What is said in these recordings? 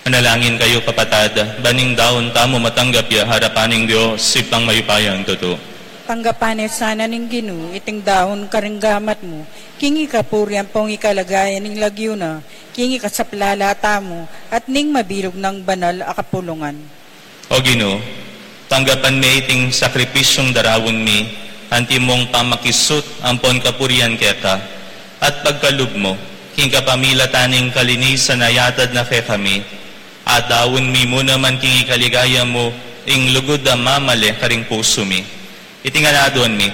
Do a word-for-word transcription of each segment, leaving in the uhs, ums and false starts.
Manalangin kayu, kapatad, ban ing daun tamu matanggap ya king arapan ning Dios, Ibpang mayupayang tutu. Tanggapan na sana ning Ginu iting daun karing gamat mu, king ikapurian ampong ikaligayan ning lagyu na, king ikasaplala tamu, at ning mabilug nang banal a kapulungan. O Ginu, tanggapan me iting sakripisyung daraun mi, antimong pamakisut ampon kapurian keka, at pagkalub mu, king kapamilatan ning kalinisan a yatad na kekami, adaun mi mu naman king ikaligaya mu, ing lugud a mamale karing pusu mi. Iti ngan aduan mi,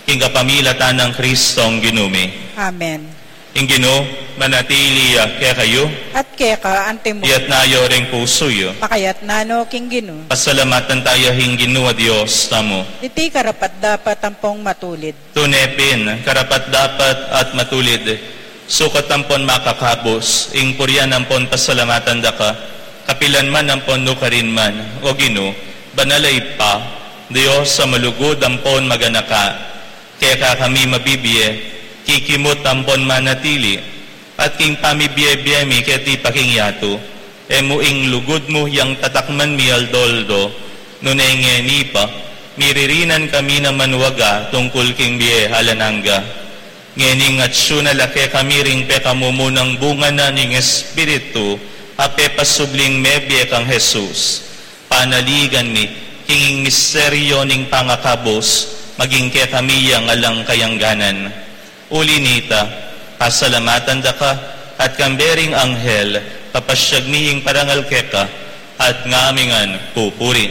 king kapamilatan nang Kristong Ginu mi. Amen. Ing Ginu manatili ya kekayu. At keka antimu. Iyatas yu ring pusu yu. Makayatas no king Ginu. Pasalamatan taya ing Ginu a Dios tamu. Iti karapat-dapat ampong matulid. Tune pin, karapat-dapat at matulid, sukat ampon makakabus, ing purian ampon pasalamatan daka, kapilan man ampon nukarin man, O Ginu, banal a Ibpa, Dios a malugud ampon maganaka. Keka kami mabibie, kikimut ampon manatili, at king pamibie-bie mi keti pa king yatu, e mu ing lugud mu yang tatakman mi aldo-aldo, nune ngeni pa, miririnan kami na manwaga tungkul king bie alang angga. Ngening atyu na la kekami ring pekamumunang bunga na ning Espiritu, a pepasubling mebie kang Jesus. Panaligan mi, king misteryo ning pangakabus, maging kekami yang alang kayangganan. Uli nita, pasalamatan daka, at kambe ring anghel, papasyag mi ing parangal keka, at ngamingan pupuri.